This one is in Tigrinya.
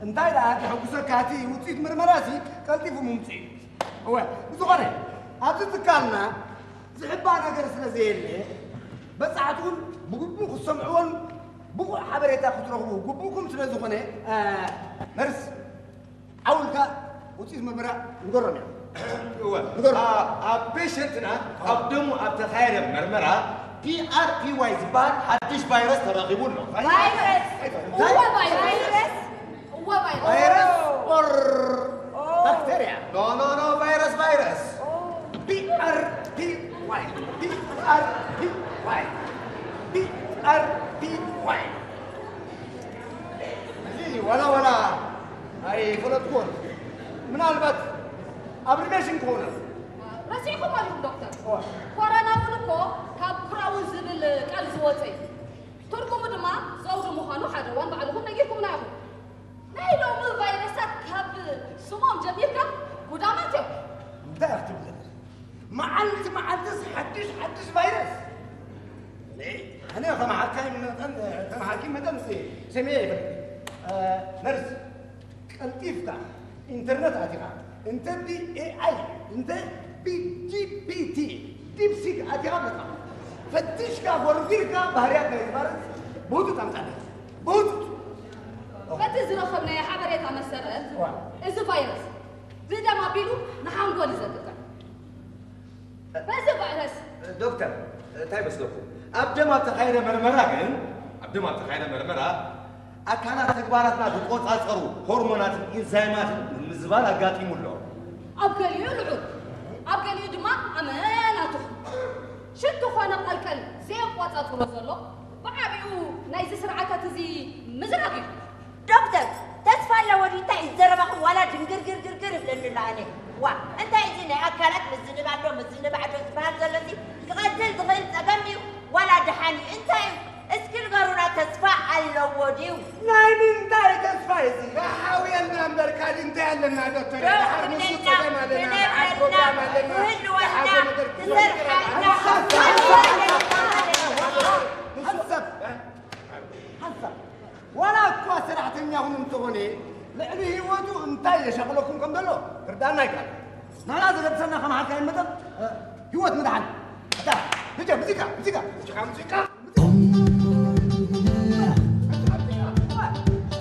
እንታይ ደኣ ከሐጉሰካ፣ እቲ ውፅኢት ምርመራሲ ቀልጢፉ ምምፅኡ እዩ። እወ፣ ብዝኾነ ኣብዚ ትካልና ዝሕባእ ነገር ስለ ዘየለ፣ በጻሕቲ እውን ብግቡእ ክሰምዕዎን ብቑዕ ሓበሬታ ክትረኽቡ ግቡእኩም ስለ ዝኾነ፣ እ፣ ነርስ ዓው ኢልካ ውፅኢት ምርመራ ንገሮም እዮም። እወ። ንገሮም። ኣ-፣ ኣብ ፔሸንትና ካብ ደሙ ኣብ ተኻየደ መርመራ ፒ ኣር ፒ ዋይ ዝበሃል ሓድሽ ቫይረስ ተረኺቡ ኣሎ። ቫይረስ! እንታይ? እወ፣ ቫይረስ! እወ፣ ቫይረስ! ቫይረስ ኦር ኦ። ባክቴርያ? ኖ፣ ኖ፣ ኖ፣ ቫይረስ፣ ቫይረስ። ኦ። ፒ ኣር ፒ ዋይ፣ ፒ ኣር ፒ ዋይ፣ ፒ ኣር ፒ ዋይ። እዚ ዋላ ዋላ ኣይፈለጥኩዎን። ምናልባት ኣብ ሪሌሽን ክኾነ። ረሲዕኩም ኣለኹም ዶክተር። ኦ። ኮሮና እውን እኮ ካብ ኩራኡ ዝብል ቃል ዝወፀ እዩ። ትርጉሙ ድማ ዘውዲ ምዃኑ ሓደ እዋን ባዕልኹም ነጊርኩምና ኢኹም። ናይ ሎሚ ቫይረሳት ካብ ስሞም ጀሚርካ ጉዳማት እዮም። እንታይ ኢኻ ትብል ዘለኻ? መዓልቲ መዓልትስ ሓድሽ ሓድሽ ቫይረስ። እኔ፣ ኣነ ከም ሓካይም መጠን፣ ከም ሓኪም መጠን ሲ-፣ ሰሚዐ ይፈልጥ። እ፣ ነርስ፣ ቀልጢፍካ ኢንተርነት ኣቲኻ፣ እንተ ብ ኤ ኣይ፣ እንተ ብ ጂ ፒ ቲ፣ ዲፕሲክ ኣቲኻ መጽሓፍ ፈቲሽካ፣ ጎርጒርካ፣ ባህርያት ናይ ቫይረስ ብህጹጽ ኣምጻለይ። ብህጹጽ። በቲ ዝረኸብናዮ ሓበሬታ መሰረት፣ ዋ። እዚ ቫይረስ ብደም ኣቢሉ ንሓንጎል እዩ ዘጥቅዕ። በዚ ቫይረስ ዶክተር፣ እንታይ መስለኩም? ኣብ ደም ኣብ ተኻየደ መርመራ ግን፣ ኣብ ደም ኣብ ተኻየደ መርመራ፣ ኣካላት ተግባራትና ዝቆጻጸሩ ሆርሞናትን ኢንዛይማትን ምምዝባል ኣጋጢሙ ኣሎ። ኣብ ገሊኡ ልዑል፣ ኣብ ገሊኡ ድማ ኣመና ትሑት። ሽንቲ ኮነ ቀልቀል ዘየቆጻጽሮ ዘሎ፣ ብዓቢኡ ናይዚ ስርዓታት እዚ ምዝራግ እዩ። ዶክተር፣ ተስፋ ኣለዎ ድዩ? እንታይ እዩ ዘረባኹም? ዋላ ድንግርግርግርግር ይብለኒ ኣሎ ኣነ። ዋ፣ እንታይ እዚ ናይ ኣካላት ምዝንባዕ ዶ ምዝንባዕ ዶ ዝበሃል ዘሎ እዚ? ክቐትል ዝኽእል ጸገም ድዩ? ዋላ ደሓን እዩ? እንታይ እዩ? እስኪ ንገሩና፣ ተስፋ ኣለዎ ድዩ? ናይ ምንታይ ተስፋ እዩ እዚ? ሓውየልና እምበር ካልእ እንታይ ኣለና ዶክተር? ዶ ደሓር ንሱ ክብለና፣ ጸገም ኣለና፣ ደሓር ክብለና፣ ፕሮግራም ኣለና፣ ክህልወና፣ ደሓር ነገር ክሰርሓልና። ንሱ ሰብ፣ ሓንሳብ፣ ዋላ እኳ ሰራሕተኛኹም እንተኾነ፣ ልዕሊ ህይወቱ እንታይ የሻቕለኩም ከም ዘሎ ክርዳእና ኣይከኣልን። ንሕና ዘገድሰና ከም ሓካይም መጠን፣ እ፣ ህይወት ምድሓን። ኣታ፣ ብጀ፣ ሙዚቃ፣ ሙዚቃ። ሙዚቃ፣ ሙዚቃ።